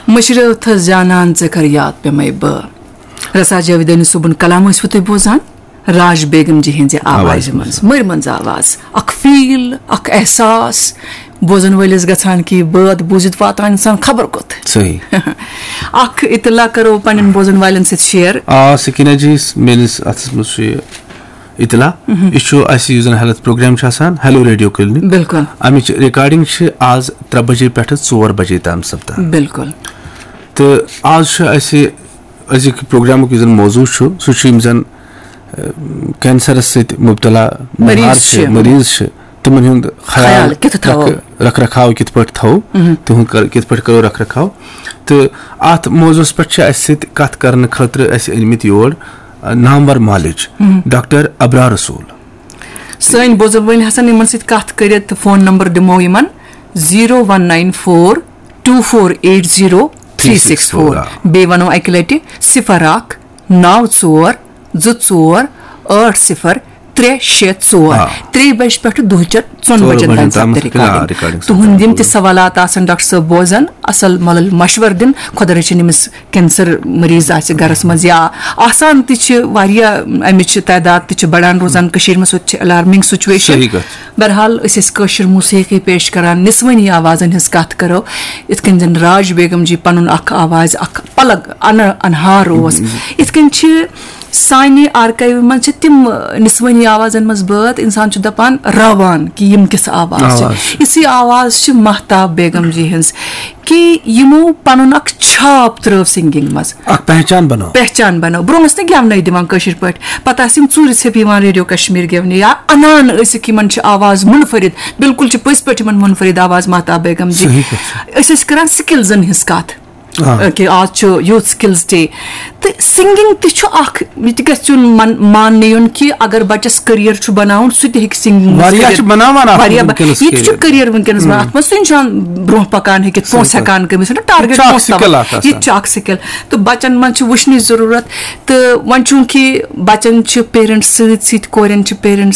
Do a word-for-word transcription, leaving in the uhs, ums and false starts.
مٔشرٲوتھس جانان ژےٚ کر یاد پیمے بہٕ۔ رسا جاویدانی صٲبُن کلام ٲسوٕ تُہۍ بوزان؟ راج بیگم جی ہٕنٛزِ آوازِ آوازِ منٛز۔ منٛز۔ مٔرۍ منٛز آواز، اکھ فیٖل، اکھ احساس، بوزن وٲلِس گژھان کہِ یہِ بٲتھ بوٗزِتھ واتان انسان خبر کوٚت۔ صحیح۔ اکھ اطلاع کرو پننٮ۪ن بوزن والٮ۪ن سۭتۍ شیئر۔ آ، سکینہ جی، میٲنِس اتھس منٛز چھُ یہِ اطلاع۔ یہِ چھُ اسہِ یُس زن ہیلتھ پروگرام چھُ آسان، ہیلو ریڈیو کلینک۔ بِلکُل۔ امِچ ریکارڈنگ چھِ آز ترٛےٚ بجے پٮ۪ٹھٕ ژور بجے تام سپدان۔ بِلکُل۔ تہٕ آز چھُ اسہِ أزیُک پروگرامُک یُس زن موضوع چھُ، سُہ چھُ یِم زن، اہ، کینسرس سۭتۍ مبتلا مریض بیمار چھِ، چھِ۔ مریض چھِ، تِمن ہُنٛد خیال خیال کِتھ تھاوو؟ رکھ-، رکھ رکھاو کِتھ پٲٹھۍ تھاوو، تِہُنٛد کر-، کِتھ پٲٹھۍ کرو رکھ رکھاو۔ تہٕ اتھ موضوعس پٮ۪ٹھ چھِ اسہِ سۭتۍ کتھ کرنہٕ خٲطرٕ اسہِ أنۍ مٕتۍ یور، اہ، نامور معالج ڈاکٹر ابرار رسول۔ سٲنۍ بوزن وٲلۍ ہسا یِمن سۭتۍ کتھ کٔرِتھ، فون نمبر دِمو یِمن، zero one nine four two four eight zero three six four. بیٚیہِ ونو اکہِ لٹہِ، صفر اکھ نو ژور زٕ ژور ٲٹھ صفر ترٛےٚ شےٚ ژور۔ آ۔ ترٛیٚیہِ بجہِ پٮ۪ٹھٕ دُہچٮ۪ن ژۄن ژور بجن بجن تام تامَتھ سپدِ ریکارڈنگ۔ ریکارڈنگ سپدِ۔ تُہُنٛد یِم تہِ سوالات آسن ڈاکٹر صٲب بوزن، اصل مطلب مشورٕ دِن، خۄدا رٔچھِن ییٚمِس کینسر مریض آسہِ گرس منٛز یا آسان تہِ چھِ واریاہ، امِچ تعداد تہِ چھِ بڑان روزان کٔشیٖرِ منٛز، سُہ تہِ چھِ الارمنگ سچویشن۔ صحیح کتھ۔ بہرحال، أسۍ ٲسۍ کٲشِر موسیقی پیش کران، نسوٲنی آوازن ہٕنٛز کتھ کرو، یِتھ کٔنۍ زن راج بیگم جی پنُن اکھ آواز، اکھ پلگ، ان-، انہار اوس، یِتھ کٔنۍ چھِ سانہِ آرکایوِ منٛز چھِ تِم، نسوٲنی آوازن منٛز بٲتھ، انسان چھُ دپان، راوان کہِ یِم کِژھ آواز چھِ۔ آواز۔ یِژھٕے آواز چھِ مہتاب بیگم جی ہٕنٛز، کہِ یِمو پنُن اکھ چھاپ ترٲو سنگنگ منٛز۔ اکھ پہچان بنٲو۔ پہچان بنٲو۔ برونٛہہ ٲسۍ نہٕ گٮ۪ونَے دِوان کٲشِر پٲٹھۍ۔ پتہٕ آسہٕ یِم ژوٗرِ ژھیٚپہِ یِوان ریڈیو کشمیر گٮ۪ونہِ یا انان ٲسِکھ یِمن چھِ آواز منفرد۔ بالکل چھِ پٔزۍ پٲٹھۍ یِمن منفرد آواز مہتاب بیگم جی۔ صحیح کتھ چھِ۔ أسۍ ٲسۍ کران سکلزن ہٕنٛز کتھ۔ آ۔ کہِ آز چھُ یوٗتھ سکلز ڈے۔ تہٕ سنگنگ تہِ چھُ اکھ، یہِ تہِ گژھِ یُن من-، ماننہٕ یُن کہِ اگر بچس کیریئر چھُ بناوُن، سُہ تہِ ہیٚکہِ سنگنگ منٛز واریاہ کٔرِتھ۔ چھِ بناوان اَتھ واریاہ ب-، وٕنکیٚنَس یہِ تہِ چھُ کیریئر۔ کیریئر وٕنکیٚنَس بناوان۔ اَتھ منٛز چھُ اِنسان برونٛہہ پَکان ہیٚکِتھ، صحیح پونٛسہٕ کَتھ۔ ہٮ۪کان کٔمِس چھُنہ ٹارگیٹ یہِ تہِ چھُ اَکھ پونٛسہٕ تھاوان۔ سِکِل اَکھ یہِ تہِ آسان۔ چھُ اَکھ سِکِل۔ تہٕ بَچَن منٛز چھُ وٕچھنٕچ ضروٗرت۔ تہٕ وۄنۍ چوٗنٛکہِ بَچَن چھِ پیرَنٹٕس سۭتۍ سۭتۍ، کورٮ۪ن چھِ پیرَنٹٕس